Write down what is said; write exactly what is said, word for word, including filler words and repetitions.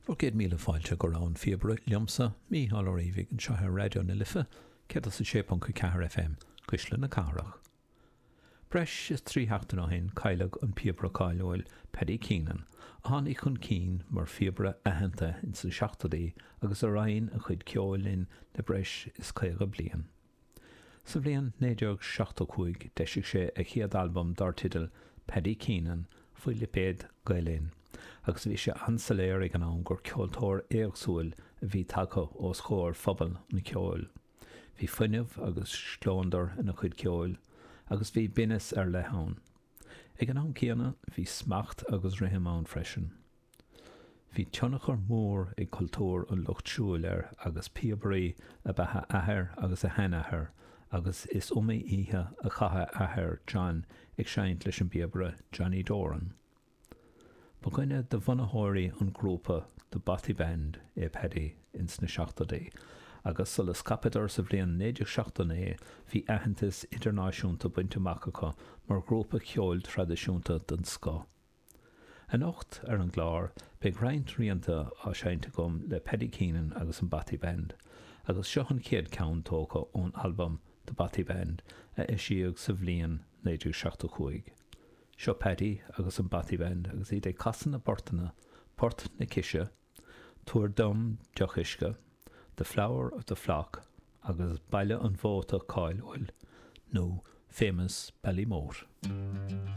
Bhur gcéad míle fáilte go Rogha an Phíobaire liomsa, Mícheál Ó Riabhaigh anseo ar Raidió na Life, céad is a sé ponc a ceathair FM, Cuisle na Cathrach. Breis is trí sheachtain ó shin cailleadh an píobaire cáiliúil Paddy Keenan, a tháinig chun cinn mar phíobaire aitheanta ins na seachtóidí agus a roinn a chuid ceoil linn le breis is caoga bliain. Sa bhliain naoi déag seachtó cúig d'eisigh sé a chéad albam dar teideal Paddy Keenan faoi lipéad Gael Linn, agus bhí sé an-soiléir ag an am gur ceoltóir éagsúil a bhí tagtha os comhair phobal an cheoil. Bhí fuinneamh agus scleondar ina chuid ceoil, agus bhí binneas ar leith ann. Ag an am céanna, bhí smacht agus rithim ann freisin. Bhí tionchar mór ag cultúr an lucht siúil air agus píobairí ab ea a athair agus a sheanathair agus is iomaí oíche a chaith a athair, John, ag seinnt leis an bpíobaire Johnny Doran. Ba dhuine de bhunaitheoirí an ghrúpa The Bothy Band é Paddy ins na seachtóidí agus sula scaipeadar sa bhliain naoi déag seachtó naoi bhí aitheantas idirnáisiúnta bainte amach acu mar ghrúpa ceoil traidisiúnta den scoth. Anocht ar an gclár beidh roinnt rianta á seinnt agam le Paddy Keenan agus an Bothy Band, agus seo an chéad ceann tógtha ón albam The Bothy Band a eisíodh sa bhliain naoi déag seachtó cúig. Seo Paddy agus an Bothy Band agus iad ag casadh na bportanna Port na Cise, Tabhair Dom Deoch Uisce, The Flower of the Flock agus Baile an Mhóta cáiliúil nó Famous Ballymote.